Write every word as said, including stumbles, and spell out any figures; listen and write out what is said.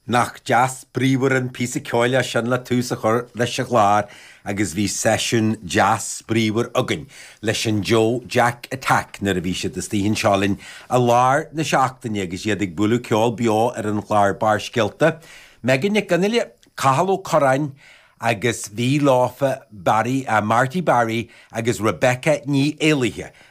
Nach deas bríomhar an píosa ceoil é sin le tús a chur leis an chlár agus bhí seisiún deas bríomhar againn leis an Joe Jack Attack nuair a bhí siad istigh anseo linn i lár na seachtaine agus iad ag bualadh ceol beo ar an chlár Barrscéalta. Megan Nic Fhionnghaile, Cathal Ó Curráin agus bhí leofa Barry uh, Marty Barry agus Rebecca Ní Éalaithe.